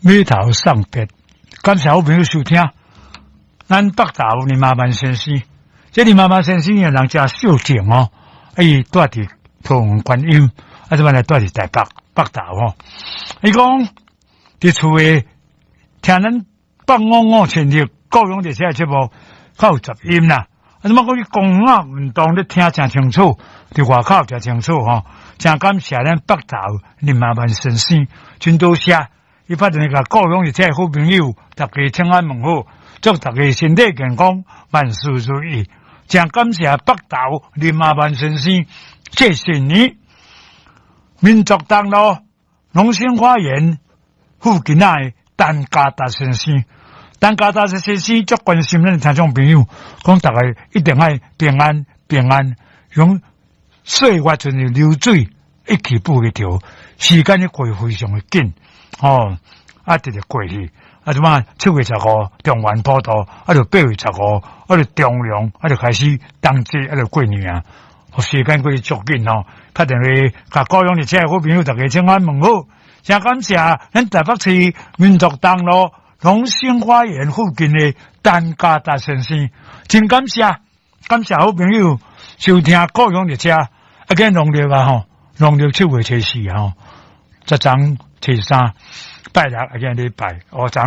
碼頭送別，感謝好朋友收聽。咱北投林阿萬先生，這林阿萬先生的人誠孝敬哦，伊住佇桃園觀音，啊，這擺來住佇台北北投吼。伊講佇厝的聽咱北五五千里高雄熱車的節目，較有雜音啦。啊，怎麼講？去公園運動咧聽誠清楚，佇外口誠清楚吼。誠感謝咱北投林阿萬先生，真多謝。伊拍電話共高雄熱車的好朋友，大家請安問好，祝大家身體健康，萬事如意。誠感謝北投林阿萬先生，謝謝你。民族東路龍興花園附近的陳家達先生，陳家達先生足關心咱聽眾朋友，講大家一定愛平安平安，用歲月像流水，一去不回頭，時間咧過非常的緊，吼，啊，直直過去，啊，這擺7月15中元普渡，啊，就8月15，啊，就重陽，啊，就開始冬至，啊，就過年啊，時間過得足緊吼，拍電話共高雄熱車的好朋友大家請安問好，誠感謝咱台北市民族東路龍興花園附近的陳家達先生，真感謝，感謝好朋友收聽高雄熱車，啊，今農曆啊吼，農曆7月24吼，昨昏初三拜六啊，今禮拜，哦，昨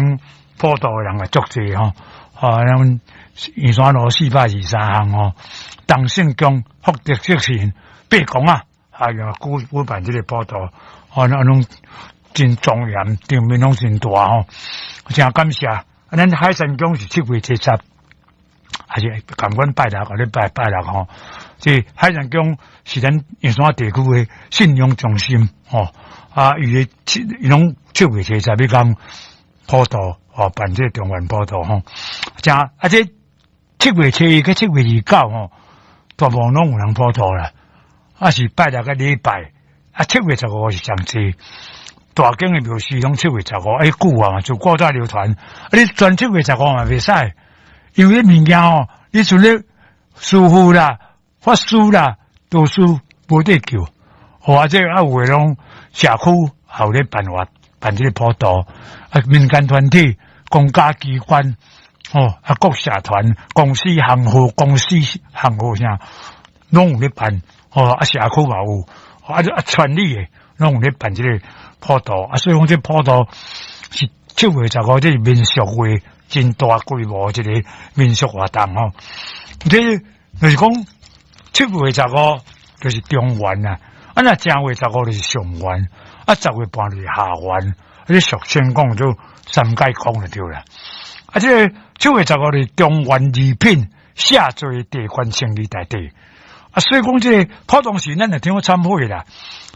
普渡的人也足濟吼，啊，咱圓山路423巷吼，東勝宮福德正神伯公啊，啊，用舉辦這個普渡，哦，那攏真莊嚴，場面攏真大吼，誠感謝。啊，咱海山宮是7月初十，還是共阮拜六，共你拜拜六吼。這海山宮是咱圓山地區的信仰中心吼。啊，伊的七，伊攏七月初十彼工普渡，哦，辦這個中元普渡吼。誠啊，這7月初一佮7月29吼，大部分攏有人普渡啦。啊，是拜六佮禮拜，啊，七月十五是上濟。大間的廟寺攏七月十五，哎，久啊嘛，就古早流傳。啊，你全七月十五嘛袂使，因為物件吼，你像咧師傅啦、法師啦，多數無得救。或者啊，有的攏社區也有咧辦法辦這個普渡，啊，民間團體、公家機關，哦，啊，各社團、公司行號、公司行號啥，攏有咧辦。哦，啊，社區嘛有，啊，啊，村里的攏有咧辦這個普渡。啊，所以講這普渡是七月十五，這是民俗會真大規模一個民俗活動吼。這就是講七月十五就是中元啊，啊，若正月十五就是上元，啊，10月半就是下元，啊，這俗稱講做三界公就對啦。啊，這個七月十五是中元二品下座地官聖義大帝。啊，所以講這個普通時咱就聽講懺悔啦，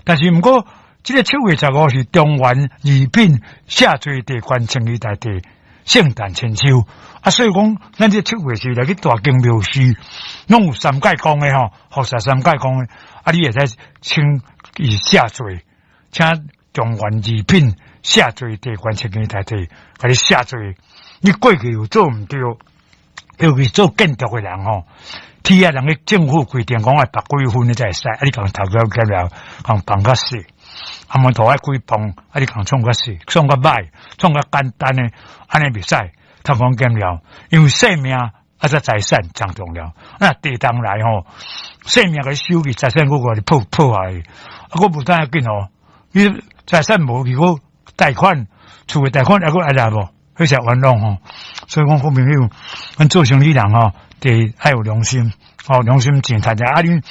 但是毋過這個七月十五是中元二品下座地官聖義大帝聖誕千秋。啊，所以講咱這七月時來去大間廟寺，攏有三界公的吼，佛說三界公的，啊，你會使請伊下座，請中元二品下座地官聖義大帝，共你下座。你過去有做毋對，尤其做建築的人吼。鐵啊，人咧政府規定講愛拔幾分你才會使，啊，你共頭家減了，共放較細，啊，門頭愛幾磅，啊，你共創較細，創較歹，創較簡單的，按呢袂使，偷工減料，因為性命啊，才財產誠重要。啊，地動來吼，性命共你收去，財產閣共你破壞，啊，閣無當要緊吼，你財產無去，閣貸款，厝的貸款猶閣愛來無？彼才冤枉吼。所以講好朋友，阮做生意人吼，得愛有良心，吼，良心真趁者。啊，你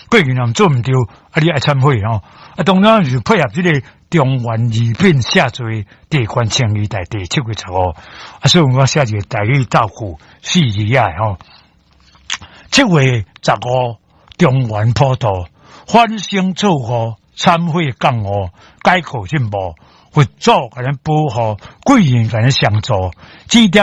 過去若做毋對，啊，你愛懺悔吼。啊，當然是配合這個中元二品下座地官聖義大帝七月十五。啊，所以我寫一個台語造句四字仔吼。七月十五中元普渡，反省錯誤，懺悔覺悟，改過進步，佛祖共咱保護，貴人共咱相助，指點。